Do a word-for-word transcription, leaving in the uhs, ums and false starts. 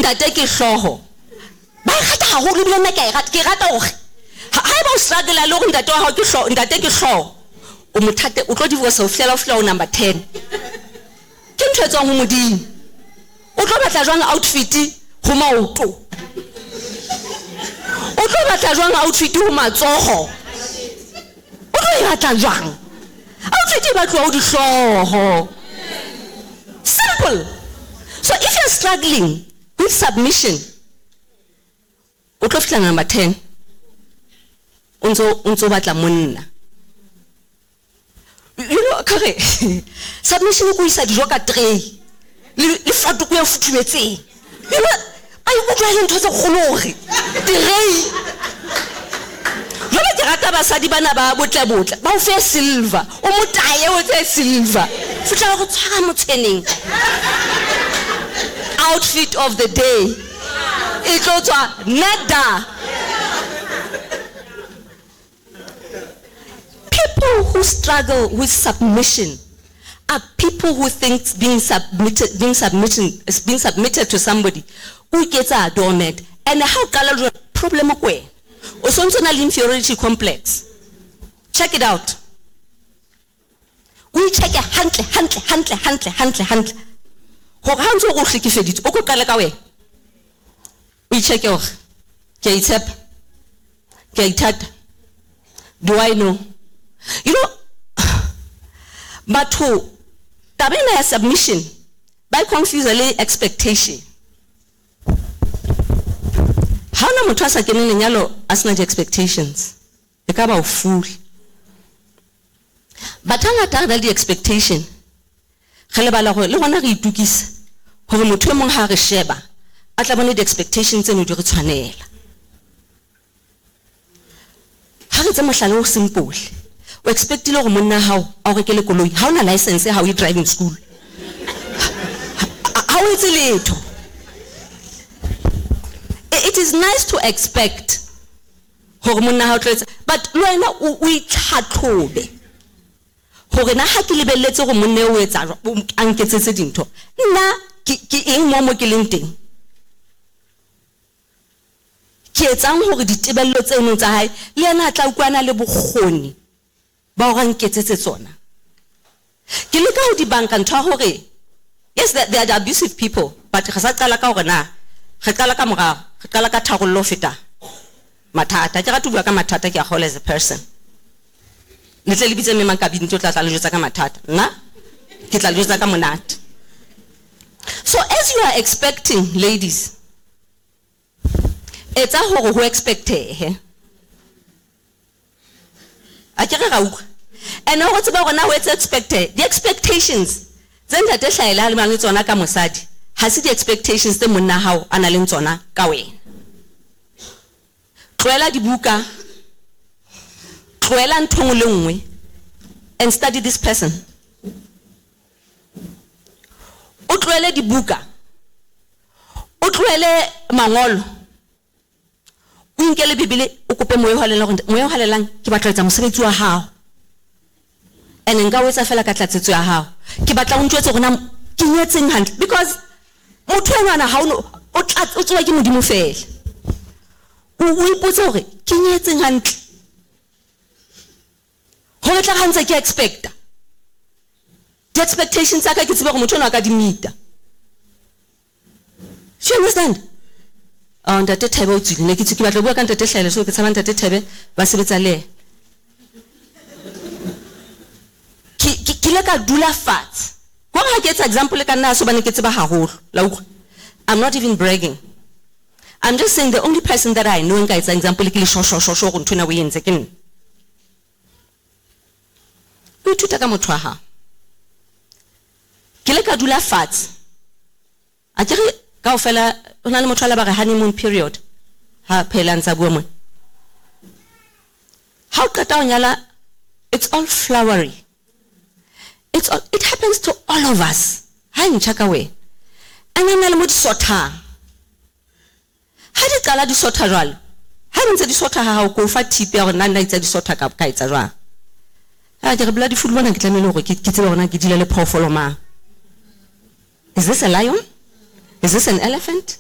Ntate ke hlooho. Ba e rata haholo ebile nna ke a e rata. Ke rata hore haeba o struggle le hore ntate wa hao ke hlooho, ntate ke hlooho, o mothate, o tlo divorce ho fihlela o fihla ho number ten. Ke ntho e tswang ho Modimo. O tlo batla jwang outfit ho maoto? O tlo batla jwang outfit ho matsoho? O tlo e batla jwang? Outfit e batluwa ho dihlooho. Simple. So if you're struggling with submission, o tlo fihla number ten. O ntso o ntso batla monna. You know, kare submission ko isa dijo ka tray. Le le fatoko e futhumetseng. You know, ba ikutlwa e le ntho tse kgolo hore tray. Jwale ke rata basadi bana ba botle botle. Ba o fe silver. O motaye o tse silver. Fihla go tshwara motshweneng. Outfit of the day. E tlo tswa nada. People who struggle with submission are people who think being submitted, being submitted, being submitted to somebody o iketsa doormat. And ha o qala jwalo, problem ko wena. O sontso na le inferiority complex. Check it out. O ichecke hantle, hantle, hantle, hantle, hantle, hantle. Hore ha o ntso o hlekefeditswe, o ko qale ka wena. O ichecke hore ke a itshepa, ke a ithata. Do I know? You know, batho taba ena ya submission ba e confuse le expectation. Ha hona motho a sa keneng lenyalo a sena di-expectations. E ka ba o fool. Batho hangata re na le di-expectation. Re lebala hore le rona re itukisa hore motho e mong ha re sheba a tla bone di-expectations tseno di re tshwanela. Ha re tse mohlala o simple. O expectile hore monna hao a o rekele koloi. Ha ona license ha o ye driving school. Ha o etse letho. It is nice to expect hore monna hao tlo etsa, but le wena o itlhatlhobe hore na ha ke lebelletse hore monna o etsa jwang, a nketsetse dintho, nna ke ke eng mo mo ke leng teng? Ke etsang hore ditebello tseno tsa hae le yena a tla utlwana le bokgoni ba hore a nketsetse tsona. Ke leka ho di banka ntho ya hore yes, they, they are the abusive people, but re sa qala ka hore na re qala ka morao, re qala ka tharollo ho feta mathata. Ke rata ho bua ka mathata, ke a kgolwa as a person. Le tle le bitse mme Mankabini o tla tla le jwetsa ka mathata. Nna ke tla le jwetsa ka monate. So as you are expecting, ladies, etsa hore ho expectehe. A ke re ra utlwa. And hore tseba hore na ho etsa expecte, the expectations tse ntate Hlaele a le mang le tsona ka mosadi, ha se di-expectations tse monna hao a nang le tsona ka wena. Tlohela dibuka, tlohela ntho nngwe le nngwe, and study this person. O tlohele dibuka, o tlohele mangolo, o inkele Bibele, o kope moya o halalelang hore moya o halalelang ke batla ho etsa mosebetsi wa hao. And nka o etsa fela ka tlatsetso ya hao. Ke batla o ntjwetse hore na ke nyetseng hantle, because motho enwana ha o no, o tla, o tsewa ke Modimo fela. O, o ipotse hore ke nyetseng hantle. Hore tla ha ntse ke expecta. Di-expectations tsa ka ke tsebe hore motho enwa a ka di meeta. Do you understand? Oh, ntate Thebe o tswile. Ne ke tswe ke batla ho bua ka ntate Hlaele, so ke tshaba ntate Thebe ba sebetsa le yena. Ke, ke, ke ile ka dula fatshe. Hore ha ke etsa example ka nna ha se hobane ke tseba haholo. La utlwa? I'm not even bragging. I'm just saying the only person that I know nka etsa example ke le sho, sho, sho, sho hore ntho ena o e entse ke nna. O ithuta ka motho wa hao. Ke ile ka dula fatshe. A ke re kaofela ho na le motho a la ba re honeymoon period. Ha phela ntsa bua mona. Ha o qeta ho nyala, it's all flowery. It's all, it happens to all of us. Ha e ntjha ka wena. And then le mo di sothang. Ha di qala di sotha jwalo, ha di ntse di sotha ha hao, ko fa tip ya hore nna nna itse di sotha ka, ka etsa jwang. Ha ke re bloody fool bona ke tlamehile hore ke, ke tsebe hore na ke dula le phoofolo mang. Is this a lion? Is this an elephant?